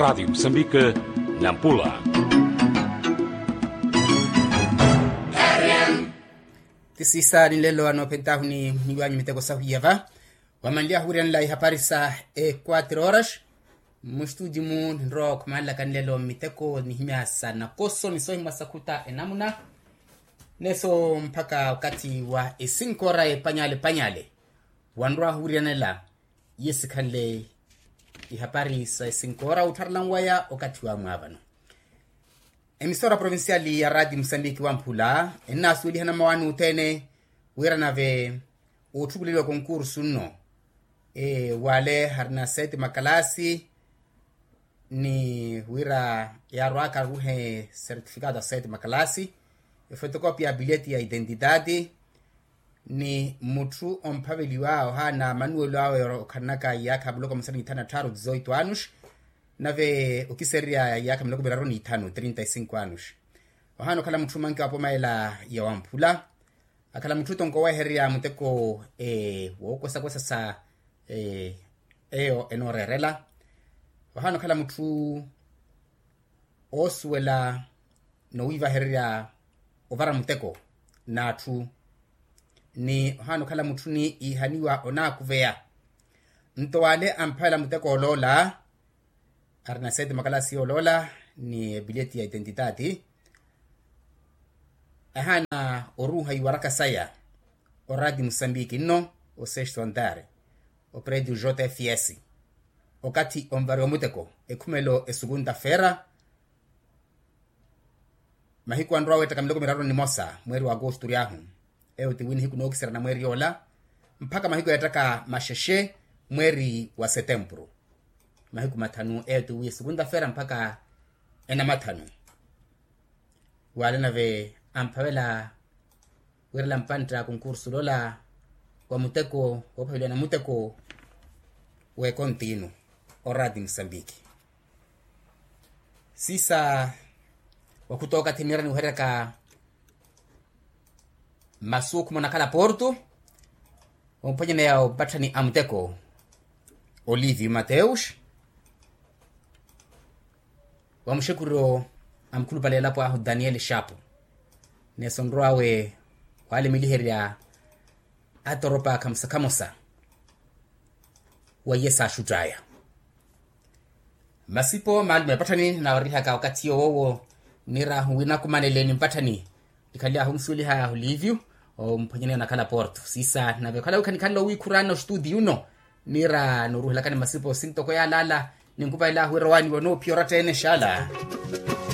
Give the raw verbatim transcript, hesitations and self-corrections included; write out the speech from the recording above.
Radiyo musambike, nampula. Ti siisa ni nlelo anoophentahu ni niwanyu miteko sahwiya va wamanly'ahu wiiranela ihapari sa equatro horas. Mustudi-mu ninrowa okhumanlaka nlelo miteko nihimya sa nakoso ni sohimwa sakhuta enamuna neso mpakha okathi wa esinkoora epanyale panyale wanrw'ahu wiiranela iye sikhanle ihapari sa esinkoora ottharela nwaya okathi wa mwaavano. Emisora provinciali ya rati musambiki wamphula ennaasuwelihana mmawaani othene wira nave otthukuleliwa konkursu nno wale harina sete makalaasi ni wira yaarwaka aruhe sertifikatu a sete makalaasi efotokopia ya bilheti ya identidade ni mutthu omphaveliwa ohaana manuwelo awe okhananaka iyaakha muloko musanu ni ithanu na tthaaru dizoito anos nave okisererya iyaakha miloko miraru ni ithanu trinta y cinco anos. Ohaana okhala mutthu manki wa pomayela ya wamphula akhala mutthu tonko owehererya muteko wookosakosa sa eyo enooreerela. Ohaana okhala mutthu oosuwela nowiivahererya ovara muteko n'atthu ni ohaana okhala mutthu ni iihaniwa onaakuveya nto wale amphavela muteko oloola arina sete makalasi yooloola ni ebilheti ya identidade ahaana oruuha iwaraka saya orati musambiki nno osesto andare opredio jfs okathi onvariwa muteko ekhumelo esukunta feera mahiku anrwa aweettaka miloko miraru ni nimosa mweeri wa agosto oryahu eyo ti wi nihiku nookisera na mweeri yoola mpakha mahiku eettaka maxexe mweeri wa setempuru mahiku mathanu eyo ti wi esukunta feera mpakha enamathanu wale nave amphavela wiirela mpantta konkursu lola wa muteko woophaveliwa na muteko w'ekontiinu orati musambiki siisa wakhuta okathi niira niweheryaka masu okhuma onakhala porto omphwanyaneya opatthani a muteko olivio mateus wa muxekuryo a mukhulupale elapo ahu daniel shapu neso nrw'awe waalemeliherya atoropa khamosa-khamosa wa iye saaxutt'aya masipo maalume epatthani naawarihaka okathi yoowo nirahu wi nakumanele ni mpatthani nikhanly'ahu omusuweliha olivio omphwanyaneya onakhala porto siisa nave okhala wi khanikhanle owiikhurana ostudio uno niira nooruhelakani masipo sintoko yaalaala ninkupahelahu wira owaaniwa onoophiya oratta-ene xaala